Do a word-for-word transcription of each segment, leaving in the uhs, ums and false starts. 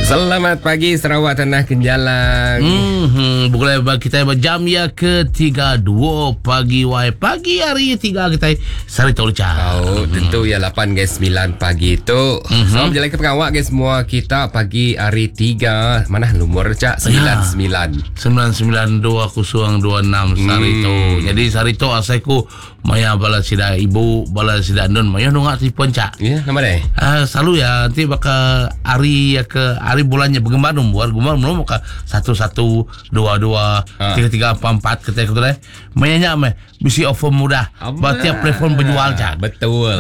Selamat pagi Sarawak Tanah Kenjalang. Hmm, boleh kita berjam ya ke tiga dua pagi wai pagi hari tiga kita sari tol cha. Oh, tentu ya lapan ke sembilan pagi tu. Mm-hmm. So berjalan ke pengawak ke semua kita pagi hari tiga mana lumur cak sembilan sembilan. Sembilan sembilan dua kosong dua enam sari tu. Jadi sari tu asaiku maya bala sida ibu bala sida nun maya nungak telefon cak. Ya, nama deh. Uh, selalu ya nanti bakal hari ya ke hari bulannya bergembar nombor gembar nombor maka satu satu dua dua tiga tiga empat empat kata kata deh. Maya meh bisi offer mudah. Berarti telefon berjual cak. Betul.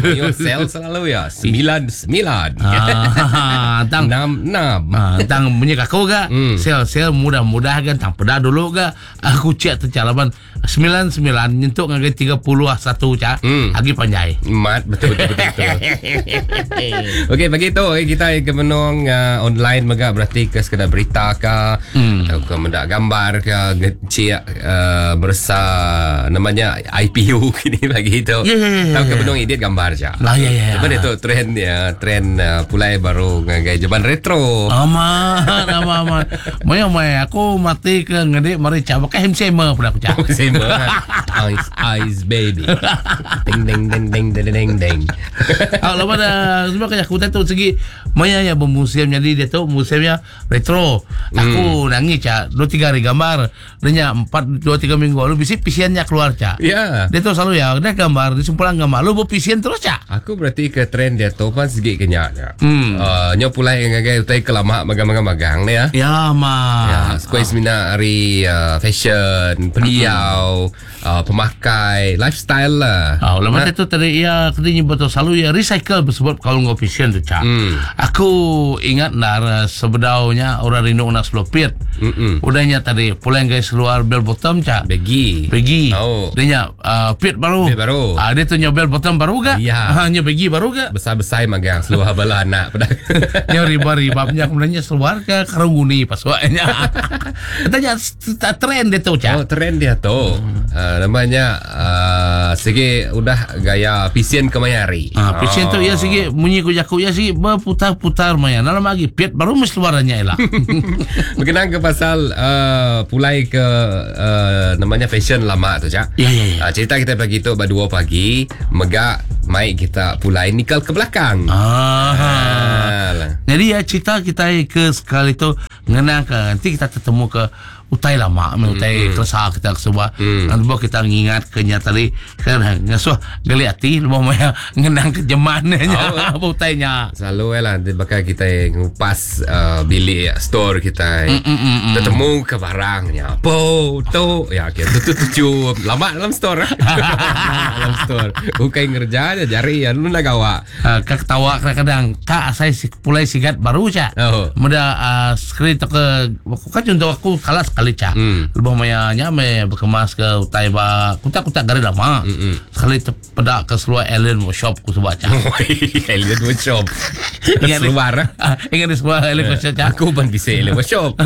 Ayo sel selalu ya sembilan sembilan. Ah, tang enam enam. Ah, tang bunyi aku ga. Sel sel mudah-mudah kan tang peda dulu ga. Aku cek tercalaban sembilan sembilan nyentuk ngagai tiga puluh satu cak. Agi panjai. Mat betul betul betul. Okey, pagi tu kita ke menung uh, online mega berarti ke sekadar berita ke hmm. atau ke mendak gambar ke ngecek uh, bersa namanya I P U kini pagi tu. Ya, ya, ya, atau ke ya. menung edit gambar je. Lah ya ya. Lepas itu trend ya, trend uh, pulai baru ngagai jaman retro. Aman aman aman. Maya maya aku mati ke ngedek mari cak pakai M C M pula aku cak. M C M. Ice ice baby. Ding ding ding ding ding ding ding. Ah, lepas dah sebab kayak aku tu segi maya ya bermusim jadi dia tu musimnya retro. Aku hmm. nangis cak dua tiga hari gambar. Dia empat dua tiga minggu lalu bisi pisiannya keluar cak. Ya. Dia tu selalu ya dia gambar dia simpulan gambar lu berpisian terus cak. Aku berarti ke trend dia tu pan segi kenyaknya. Hmm. Uh, nyo pulai ngagai utai kelamak magang-magang ni ya. Ya ma. Ya, square semina hari uh, fashion, pendiau, uh, pemakai, lifestyle lah. Oh, lepas itu tadi ya kena betul selalu ya recycle bersebab kalau ngau fashion tu cak. Hmm. Aku ingat nar sebedaunya orang rindu nak selopit. Mm-mm. Udahnya tadi pulang guys keluar bell bottom cak. Begi. Begi. Oh. Dia nya uh, pit baru. Pit baru. Ah, dia tu nya bell bottom baru ga? Ya. Ah, nya begi baru ga? Besar-besar magang seluar bala anak pada. Nya riba-ribabnya kemudiannya seluar ke karunguni pasuannya. Tanya trend dia tu cak. Oh, trend dia tu. Hmm. Uh, namanya uh, segi udah gaya pisien kemayari. Ah, pisien oh. tu ya segi bunyi ku jaku ya segi berputar-putar maya. Dalam lagi pit baru mesti luarannya elak. Berkenaan ke pasal uh, pulai ke uh, namanya fashion lama tu cak. Ya ya ya. Uh, cerita kita pagi tu pada dua pagi megak mai kita pulai nikel ke belakang. Ah. ah. Jadi ya cerita kita ke sekali tu ngenang ke nanti kita ketemu ke utai lama, mm, utai mm. keresah kita sebab mm. nanti kita ngingat ke nyata tadi kan ngasuh geli hati lebih maya ngenang ke jemannya oh, apa utainya. Selalu lah bakal kita ngupas uh, bilik store kita mm, mm, mm, mm. ketemu ke barangnya. Po tu ya okay. Tu tu tujuh lama dalam store. Dalam store. Bukan ngerja aja jari ya lu nak gawa. Uh, kak ketawa kadang-kadang kak saya pulai sigat baru cak. Oh. Muda uh, screen tu ke kan contoh aku kalah sekali cak. Hmm. Lebih mayanya me berkemas ke utai ba kutak-kutak gari lama. Mm-mm. Sekali terpedak ke seluar Alien Workshop ku sebab cak. Alien Workshop. Seluar. Ingat di seluar Alien Workshop cak. Aku pun bisa Alien Workshop.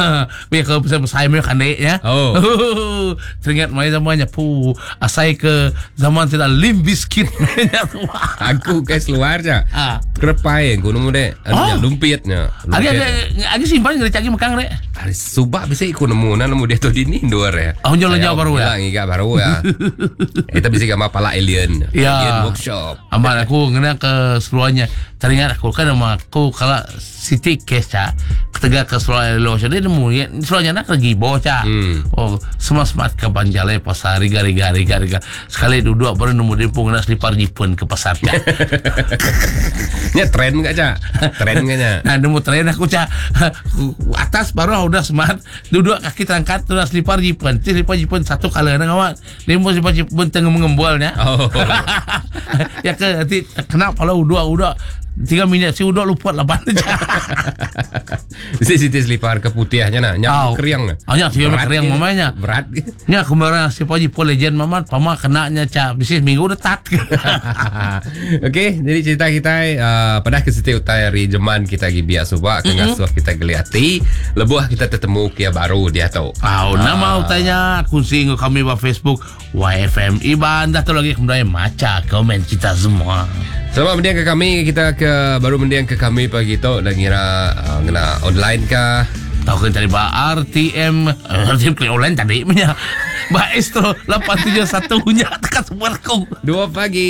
Biar ke besar-besar me kandek ya. Oh. Teringat maya zamannya pu asai ke zaman tidak Limp Bizkit. Aku ke seluar cak. Ah. Kerepai aku nemu dek. Oh. Lumpitnya. Agi agi simpan ngeri cak mekang dek. Hari subak bisa ikut nemu nah nemu dia tu di ni dua ya. Oh, jual jauh baru ya. Ngiga baru ya. Kita bisa gambar pala alien. Ya. Alien Workshop. Amal aku ngena ke seluarnya. Teringat aku kan sama aku kalau city case cak ketegak ke seluar alien workshop dia nemu ya, seluarnya nak lagi bawah cak. Hmm. Oh, semua smart ke Banjalai pasar riga riga riga riga. Sekali duduk baru nemu dia pun kena selipar jipun ke pasar cak. Nya tren enggak cak? Tren enggaknya. Nah, nemu tren aku cak. Atas baru udah smart duduk kaki terangkat terus selipar jipun. Selipar jipun satu kali nak awak. Dia mau selipar jipun tengah mengembualnya. Oh. Ya ke nanti kena kalau udah udah tiga minit si udah lupa lapan. Mesti siti selipar ke putihnya nak nyak Oh. keriang. Oh, nyak sih keriang mamanya. Berat. Nya kemarin si Paji po legend mama pama kenanya cak bisnis minggu udah tat. Okey, jadi cerita kita uh, pada ke siti utai hari jeman kita gi biak subak ke ngasuh kita geliati, lebuh kita tetemu kia baru dia tu. Oh, nama utainya kunci kami ba Facebook Y F M Iban dah tu lagi kemudian maca komen kita semua. Selamat mendiang ke kami. Kita ke baru mendiang ke kami pagi tu dan ngira uh, ngena online kah? Tahu kan tadi ba R T M, eh, R T M klik online tadi punya. Ba Astro lapan tujuh satu nya tekan semua aku. Dua pagi.